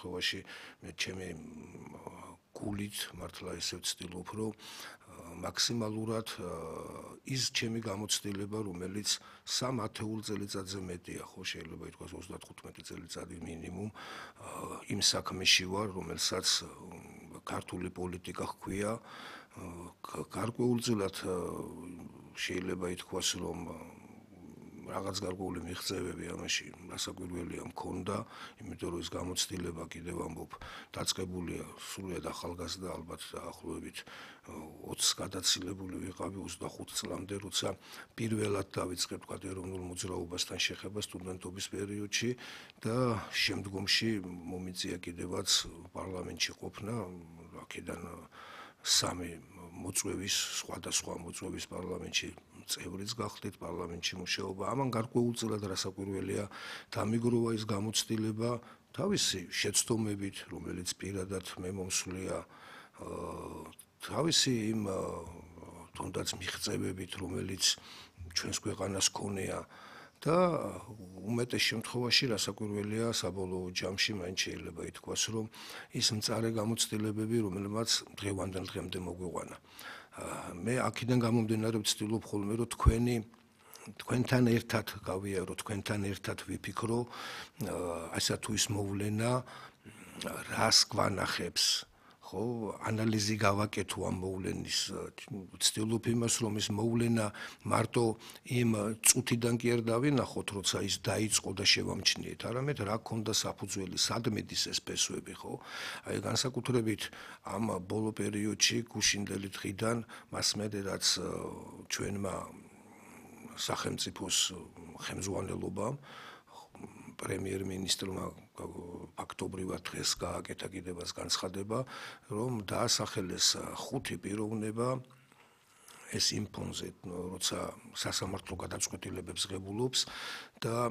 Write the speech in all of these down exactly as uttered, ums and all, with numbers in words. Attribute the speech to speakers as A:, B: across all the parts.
A: შემთხვევაში მე ჩემი გულით მართლა ესე ვცდილობ, რომ მაქსიმალურად ის ჩემი გამოცდილება, რომელიც სამ ათეულ წელიწადზე მეტია, ხო, შეიძლება ითქვას ოცდათხუთმეტი წელიწადი მინიმუმ იმ საქმეში ვარ, რომელსაც ქართული პოლიტიკა ჰქვია, გარკვეულწილად შეიძლება ითქვას, რომ რაღაც გარკვეული მიღწევები ამაში რასაკვირველია მქონდა, იმიტომ რომ ეს გამოცდილება კიდევ ამბობ დაწყებულია სრულიად ახალგაზრდა, ალბათ დაახლოებით ოცს გადაცილებული ვიყავი ოცდახუთ წლამდე, როცა პირველად დავიწყე თქვა ეროვნულ მოძრაობასთან შეხება სტუდენტობის პერიოდში და შემდგომში მომიწია კიდევაც პარლამენტში ყოფნა, აქედან სამი მოწვევის, სხვადასხვა მოწვევის პარლამენტში წევრიც გახდით, პარლამენტში მუშაობა. ამან გარკვეულწილად რასაკვირველია დამიგროვა ის გამოცდილება თავისი შეცდომებით, რომელიც პირადად მე მომსვლია, თავისი იმ თუნდაც მიღწევებით, რომელიც ჩვენს ქვეყანას ქონია და უმეტეს შემთხვევაში რასაკვირველია საბოლოო ჯამში მაინც შეიძლება ითქვას, რომ ის მწარე გამოცდილებები, რომელმაც დღევანდელ დღემდე მოგვიყვანა. მე აქედან გამომდინარე ვცდილობ ხოლმე, რომ თქვენი თქვენთან ერთად გავიარო, თქვენთან ერთად ვიფიქრო, ასე თუ ის მოვლენა რას გვანახებს, ხო, ანალიზი გავაკეთო ამ მოვლენის, ვცდილობ იმას, რომ ეს მოვლენა მარტო იმ წუთიდან კი არ დავინახოთ, როცა ის დაიწყო და შევამჩნიეთ, არამედ რა ქონდა საფუძველი, სად მედის ეს ფესვები, ხო? აი განსაკუთრებით ამ ბოლო პერიოდში გუშინდელი დღიდან მასმედე რაც ჩვენმა სახელმწიფოს ხელმძღვანელობამ პრემიერ-მინისტრმა ფაქტობრივად დღეს გააკეთა კიდევაც განცხადება, რომ დაასახელეს ხუთი პიროვნება ეს იმ ფონზე, როცა სასამართლო გადაწყვეტილებებს ღებულობს და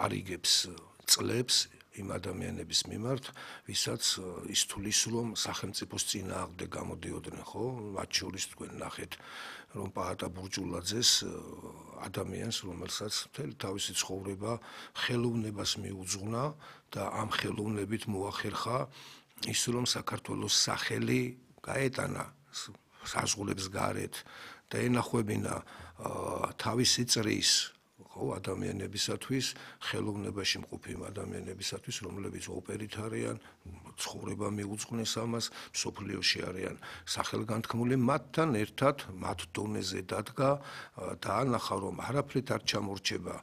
A: არიგებს წლებს იმ ადამიანების მიმართ, ვისაც ის თulis რომ სახელმწიფოს წინააღმდეგ გამოდიოდნენ, ხო? მათ შორის თქვენ ნახეთ, რომ პაატა ბურჯულაძეს ადამიანს, რომელსაც მთელი თავისი ცხოვრება ხელოვნებას მიუძღვნა და ამ ხელოვნებით მოახერხა ის, რომ საქართველოს სახელი გაეტანა საზღვრებს გარეთ და ენახვებინა თავისი წრის ხო ადამიანებისათვის, ხელოვნებაში მყოფი ადამიანებისათვის, რომლებიც ოპერით არიან, ცხოვრება მიუძღვნეს ამას, მსოფლიოში არიან სახელგანთქმული, მათთან ერთად მათ დონეზე დადგა და ანახა, რომ არაფრით არ ჩამორჩება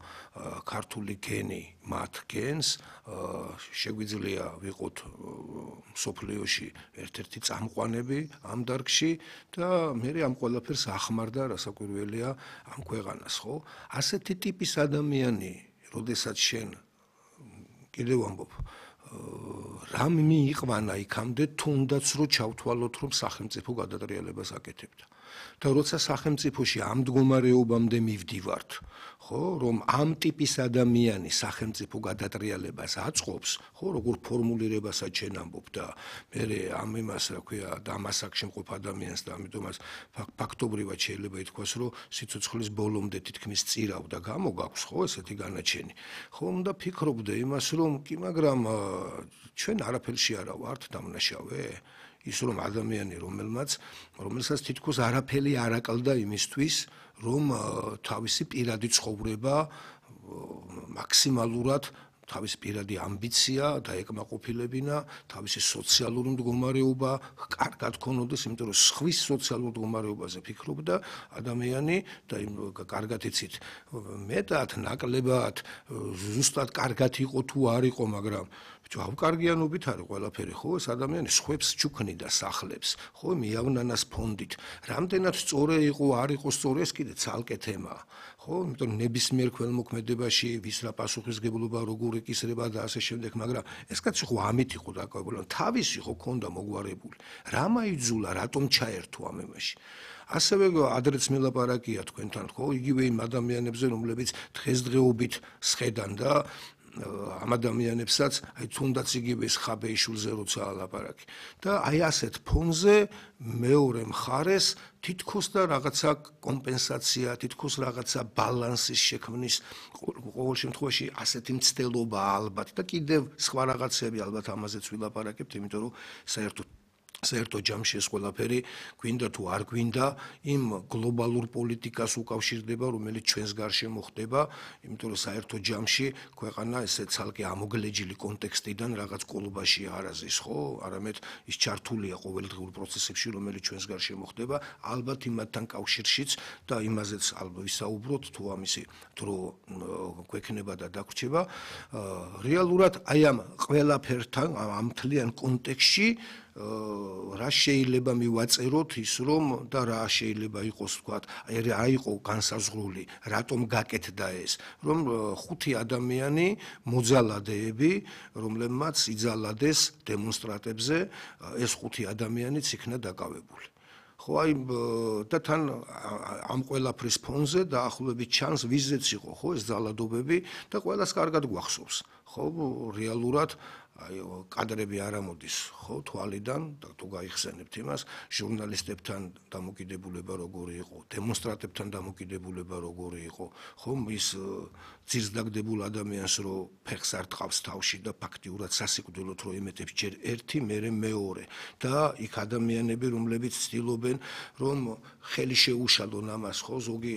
A: ქართული გენი მათ გენს, შეგვიძლია ვიყოთ მსოფლიოში ერთ-ერთი წამყვანები ამ დარგში და მე ამ ყველაფერს ახმარდა რასაკვირველია ამ ქვეყანას, ხო? ასეთი ტიპის ადამიანი, როდესაც შენ კიდევ ამბობ, რამ მიიყვანა იქამდე, თუნდაც რომ ჩავთვალოთ, რომ სახელმწიფო გადატრიალებას აკეთებდა. და როცა სახელმწიფოში ამ მდგომარეობამდე მივდივართ, ხო, რომ ამ ტიპის ადამიანი სახელმწიფო გადატრიალებას აწყობს, ხო, როგორ ფორმულირებასაც შენ ამბობ და მე ამ იმას, რა ქვია, და ამ ასაკში მყოფ ადამიანს და ამიტომაც ფაქტობრივად შეიძლება ითქვას, რომ სიცოცხლის ბოლომდე თითქმის წირავ და გამოგაქვს, ხო, ესეთი განაჩენი. ხო, უნდა ფიქრობდე იმას, რომ კი, მაგრამ ჩვენ არაფერში არა ვართ დამნაშავე. ის რომ ადამიანი, რომელმაც, რომელსაც თითქოს არაფერი არ აკლდა იმისთვის, რომ თავისი პირადი ცხოვრება მაქსიმალურად თავისი პირადი ამბიცია და ეკმაყოფილებინა, თავისი სოციალური მდგომარეობა კარგად ქონოდეს, იმიტომ რომ სხვის სოციალურ მდგომარეობაზე ფიქრობდა ადამიანი და იმ კარგად იცით, მეტად ნაკლებად ზუსტად კარგად იყო თუ არ იყო, მაგრამ ავკარგიანობით არის ყველაფერი, ხო, ეს ადამიანი სხვებს ჩუქნიდა სახლებს, ხო, მიავნანას ფონდით. რამდენად სწორი იყო, არ იყო სწორი, ეს კიდე ცალკე თემაა, ხო, იმიტომ რომ ნებისმიერ ქველმოქმედებაში ვის რა პასუხისმგებლობა, როგორ ეკისრება და ასე შემდეგ, მაგრამ ეს კაცი ხო ამით იყო დაკავებული, თავისი ხო ქონდა მოგვარებული. რა მაიძულა, რატომ ჩაერთო ამ ემაში? ასევე ადრეც მელაპარაკია თქვენთან, ხო, იგივე იმ ადამიანებზე, რომლებიც დღესდღეობით სხედან და ამ ადამიანებსაც, აი თუნდაც იგივე ეს ხაბეიშვილზე როცა ალაპარაკი. და აი ასეთ ფონზე მეორე მხარეს თითქოს და რაღაცა კომპენსაცია, თითქოს რაღაცა ბალანსის შექმნის ყოველ შემთხვევაში ასეთი მცდელობა ალბათ და კიდევ სხვა რაღაცები ალბათ ამაზეც ვილაპარაკებთ, იმიტომ რომ საერთოდ საერთო ჯამში ეს ყველაფერი გვინდა თუ არ გვინდა იმ გლობალურ პოლიტიკას უკავშირდება, რომელიც ჩვენს გარშემო ხდება, იმიტომ რომ საერთო ჯამში ქვეყანა ესე ცალკე ამოგლეჯილი კონტექსტიდან რაღაც კოლობაში არ აზის, ხო? არამედ ის ჩართულია ყოველდღიურ პროცესებში, რომელიც ჩვენს გარშემო ხდება, ალბათ იმათთან კავშირშიც და იმაზეც ალბათ ვისაუბროთ, თუ ამისი დრო გვექნება და დაგვრჩება. რეალურად აი ამ ყველაფერთან, ამ მთლიან კონტექსტში რა შეიძლება მივაწეროთ ის რომ და რა შეიძლება იყოს თქვათ აი რა იყო განსაზღვრული რატომ გაკეთდა ეს რომ ხუთი ადამიანი მოძალადეები რომლებმაც იძალადეს დემონსტრატებზე ეს ხუთი ადამიანიც იქნა დაკავებული ხო აი და თან ამ ყველაფრის ფონზე დაახლოებით ჩანს ვიზეც იყო ხო ეს ძალადობები და ყველას კარგად გვახსოვს ხო რეალურად აი კადრები არ ამოდის ხო თვალიდან და თუ გაიხსენებთ იმას ჟურნალისტებთან დამოკიდებულება როგორი იყო დემონსტრანტებთან დამოკიდებულება როგორი იყო ხო ის ძირსდაგდებულ ადამიანს რო ფეხს არ ტყავს თავში და ფაქტიურად სასიკვდილოდ რო ემეტებს ჯერ ერთი მერე მეორე და იქ ადამიანები რომლებიც ცდილობენ რომ ხელი შეუშალონ ამას ხო ზოგი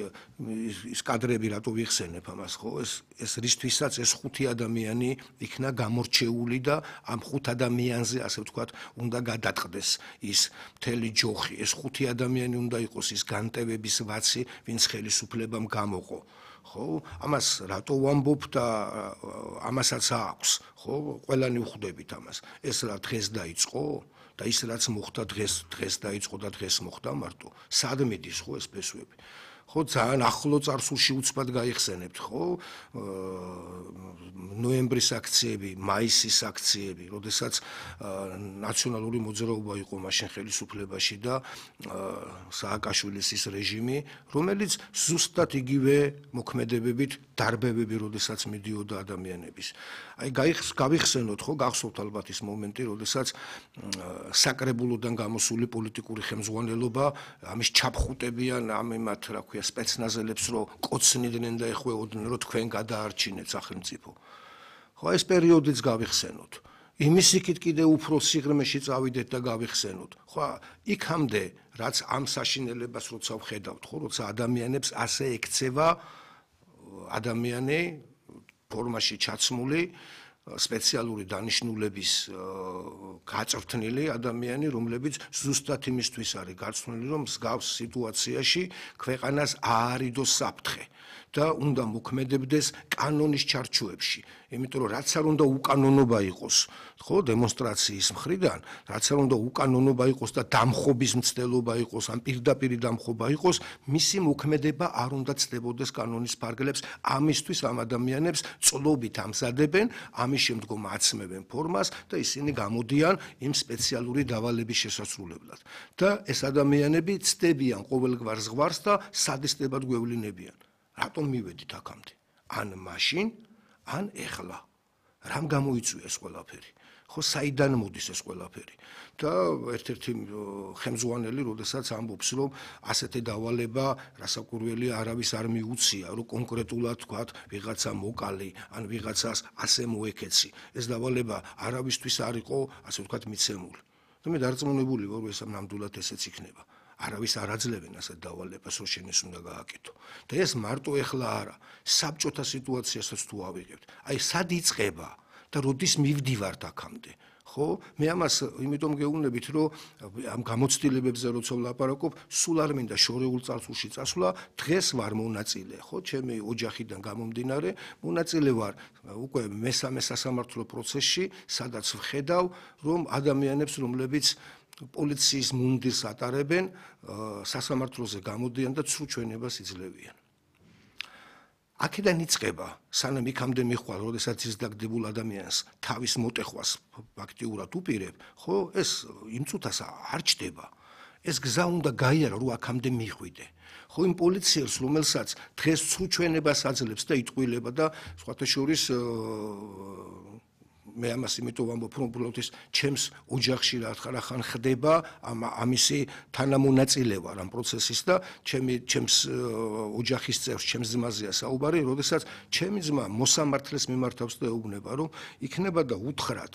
A: ის კადრები რატო ვიხსენებ ამას ხო ეს ეს რისთვისაც ეს ხუთი ადამიანი იქნა გამორჩეული და ამ ხუთ ადამიანზე ასე ვთქვათ უნდა გადაწყდეს ის მთელი ჯოხი ეს ხუთი ადამიანი უნდა იყოს ის განტევების ვაცი ვინც ხელისუფლებამ გამოყო ხო ამას რატო ვამბობ და ამასაც აქვს ხო ყველანი ვხვდებით ამას ეს რა დღეს დაიწყო და ის რაც მოხდა დღეს დღეს დაიწყო და დღეს მოხდა მარტო სად მიდის ხო ეს ფესვები ხო ძალიან ახლო წარსულში უცბად გაიხსენებთ ხო ნოემბრის აქციები მაისის აქციები როდესაც ნაციონალური მოძრაობა იყო მაშინ ხელისუფლებაში და სააკაშვილის ის რეჟიმი რომელიც ზუსტად იგივე მოქმედებებით დარბევები როდესაც მიდიოდა ადამიანების აი გავიხსენოთ ხო გახსოვთ ალბათ ის მომენტი როდესაც საკრებულოდან გამოსული პოლიტიკური ხელმძღვანელობა ამის ჩაფხუტებიან ამ იმათ რა ქვია სპეცნაზელებს რო კოცნიდნენ და ეხვეოდნენ რო თქვენ გადაარჩინეთ სახელმწიფო ხო ეს პერიოდიც გავიხსენოთ იმის იქით კიდე უფრო სიღრმეში წავიდეთ და გავიხსენოთ ხო იქამდე რაც ამ საშინელებას როცა ვხედავთ ხო როცა ადამიანებს ასე ექცევა ადამიანი ფორმაში ჩაცმული სპეციალური დანიშნულების გაწვრთნილი ადამიანი რომლებიც ზუსტად იმისთვის არის გარცმული რომ მსგავს სიტუაციაში ქვეყანას აარიდოს საფრთხე და უნდა მოქმედებდეს კანონის ჩარჩოებში იმიტომ რომ რაც არ უნდა უკანონობა იყოს ხო დემონსტრაციის მხრიდან რაც არ უნდა უკანონობა იყოს და დამხობის მცდელობა იყოს ან პირდაპირ დამხობა იყოს მისი მოქმედება არ უნდა ცდებოდეს კანონის ფარგლებს ამისთვის ამ ადამიანებს წლობით ამზადებენ ამის შემდგომ აცმევენ ფორმას და ისინი გამოდიან იმ სპეციალური დავალების შესასრულებლად და ეს ადამიანები ცდებიან ყოველგვარ ზღვარს და სადისდებად გვევლინებიან რატომ მივედით აქამდე ან მაშინ ან ეხლა რამ გამოიწვია ეს ყველაფერი ხო საიდან მოდის ეს ყველაფერი და ერთ-ერთი ხელმძღვანელი როდესაც ამბობს რომ ასეთი დავალება რასაკვირველია არავის არ მიუცია რომ კონკრეტულად თქვათ ვიღაცა მოკალი ან ვიღაცას ასე მოეკეცი ეს დავალება არავისთვის არ იყო ასე ვთქვათ მიცემული და მე დარწმუნებული ვარ რომ ეს ნამდვილად ესეც იქნება არავის არ აძლევენ ასეთ დავალებას რომ შენ ეს უნდა გააკეთო და ეს მარტო ეხლა არა საბჭოთა სიტუაციასაც თუ ავიღებთ აი სად იწყება და როდის მივდივართ აქამდე ხო მე ამას იმიტომ გეუბნებით რომ ამ გამოცდილებებზე როცა ვლაპარაკობ სულ არ მინდა შორეულ წარსულში წასვლა დღეს ვარ მონაწილე ხო ჩემი ოჯახიდან გამომდინარე მონაწილე ვარ უკვე მესამე სასამართლო პროცესში სადაც ვხედავ რომ ადამიანებს რომლებიც პოლიციის მუნდირს ატარებენ სასამართლოზე გამოდიან და ცრუ ჩვენებას იძლევიან აქედან იწყება სანამ იქამდე მიხვალ როდესაც ის დაგდებულ ადამიანს თავის მოტეხვას ფაქტიურად უპირებ ხო ეს იმ წუთას არ ჩდება ეს გზა უნდა გაიარო, რომ აქამდე მიხვიდე. ხო იმ პოლიციელს, რომელსაც დღეს ცრუჩვენებას აძლევს და იტყვილება და სხვათა შორის მე ამას იმიტომ ვამბობ, რომ უბრალოდ ის ჩემს ოჯახში რახან ხდება ამ ამისი თანამონაწილეობა ამ პროცესის და ჩემი ჩემს ოჯახის წევრს, ჩემს ძმაზეა საუბარი, როდესაც ჩემი ძმა მოსამართლეს მიმართავს და ეუბნება, რომ იქნება და უთხრათ